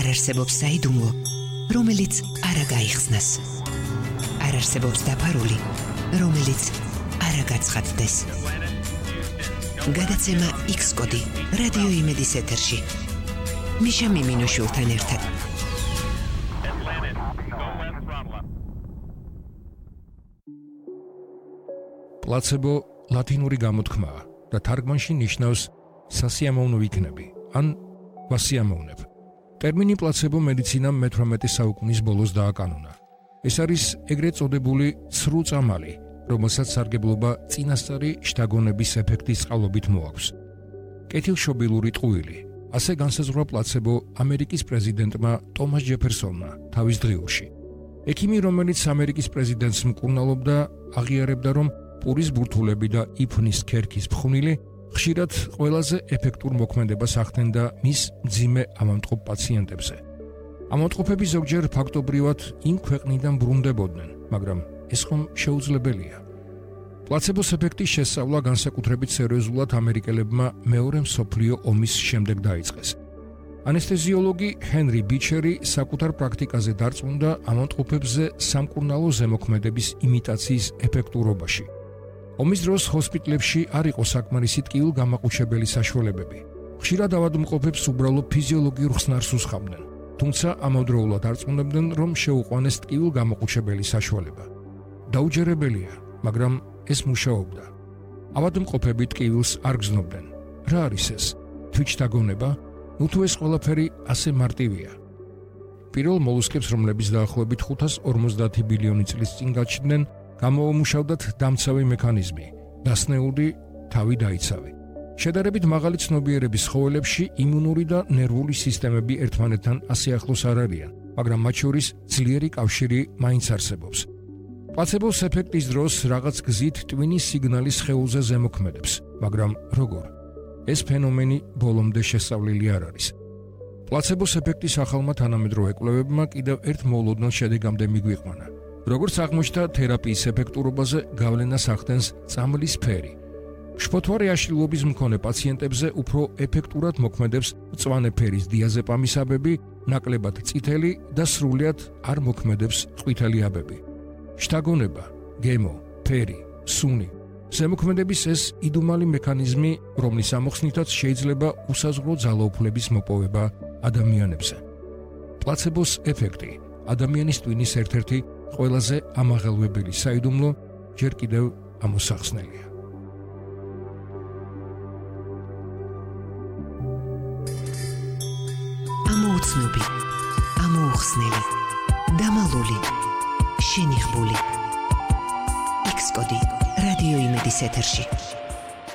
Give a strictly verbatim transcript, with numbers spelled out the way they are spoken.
არ არსებობს საიდუმლო, რომელიც არ გაიხსნას. არ არსებობს დაფარული, რომელიც არ გაცხადდეს. გადაცემა X კოდი რადიო იმედის ეთერში. მიშა მიმინოშვილთან ერთად. პლაცებო ლათინური გამოთქმაა და თარგმანში ნიშნავს სასიამოვნო იქნები ან ვასიამოვნებ. ტერმინი პლაცებო მედიცინამ მეთვრამეტე საუკუნის ბოლოს დააკანონა. ეს არის ეგრეთ წოდებული ცრუ წამალი, რომელსაც სარგებლობა წინასწარი შთაგონების ეფექტის წყალობით მოაქვს. კეთილშობილური ტყუილი. ასე განსაზღვრა პლაცებო ამერიკის პრეზიდენტმა ტომას ჯეფერსონმა თავის დღიურში. ექიმი, რომელიც ამერიკის პრეზიდენტს მკურნალობდა, აღიარებდა, რომ პურის ბურთულები და იფნის ქერქის ფხვნილი ხშირად ყველაზე ეფექტურ მოქმედებას ახდენდა მის მძიმე ამამტყობ პაციენტებზე. ამამტყობები ზოგჯერ ფაქტობრივად იმ ქვეყნიდან ბრუნდებოდნენ, მაგრამ ეს ხომ შეუძლებელია. პლაცებოს ეფექტის შესწავლა განსაკუთრებით სერიოზულად ამერიკელებმა მეორე მსოფლიო ომის შემდეგ დაიწყეს. ანესთეზიოლოგი ჰენრი ბიჩერი საკუთარ პრაქტიკაზე დარწმუნდა ამამტყობებზე სამკურნალო ზემოქმედების იმიტაციის ეფექტურობაში. ომის დროს ჰოსპიტლებში არ იყო საკმარისი ტკივილგამაყუჩებელი საშუალებები. ხშირად ავადმყოფებს უბრალოდ ფიზიოლოგიურ ხსნარს უსხამდნენ, თუმცა ამავდროულად დარწმუნებდნენ, რომ შეუყვანეს ტკივილგამაყუჩებელი საშუალება. დაუჯერებელია, მაგრამ ეს მუშაობდა. ავადმყოფები ტკივილს არ გზნობდნენ. რა არის ეს? თვითშთაგონება? ნუ თუ ეს ყველაფერი ასე მარტივია. პირველ მოლუსკებს, რომლებიც დაახლოებით ხუთას ორმოცდაათი ბილიონი წლის წინ გაჩნდნენ, გამოუმუშავდათ დამცავი მექანიზმი, დასნეული თავი დაიცავი. შედარებით მაღალი ცნობიერების ხოველებში იმუნური და ნერვული სისტემები ერთმანეთთან ასე ახლოს არ არიან, მაგრამ მათ შორის ძლიერი კავშირი მაინც არსებობს. პლაცებოს ეფექტის დროს რაღაც გზით ტვინის სიგნალი სხეულზე ზემოქმედებს, მაგრამ როგორ? ეს ფენომენი ბოლომდე შესწავლილი არ არის. პლაცებოს ეფექტის ახალმა თანამედროვე კვლევებმა კიდევ ერთ მოულოდნელ შედეგამდე მიგვიყვანა. როგორც აღმოჩნდა, თერაპიის ეფექტურობაზე გავლენას ახდენს წამლის ფერი. შფოთვარე აშლილობის მქონე პაციენტებზე უფრო ეფექტურად მოქმედებს მწვანე ფერის დიაზეპამის აბები, ნაკლებად წითელი და სრულიად არ მოქმედებს ყვითელი აბები. შთაგონება, გემო, ფერი, სუნი. ზემოქმედების ეს იდუმალი მექანიზმი, რომლის ამოხსნითაც შეიძლება უსაზღვრო ძალაუფლების მოპოვება ადამიანებზე. პლაცებოს ეფექტი ადამიანის ტვინის ერთ-ერთი ყველაზე ამაღელვებელი საიდუმლო ჯერ კიდევ ამოსახსნელია. ამოუცნობი, ამოუხსნელი, დამალული, შენიღბული. X კოდი რადიო იმედის ეთერში.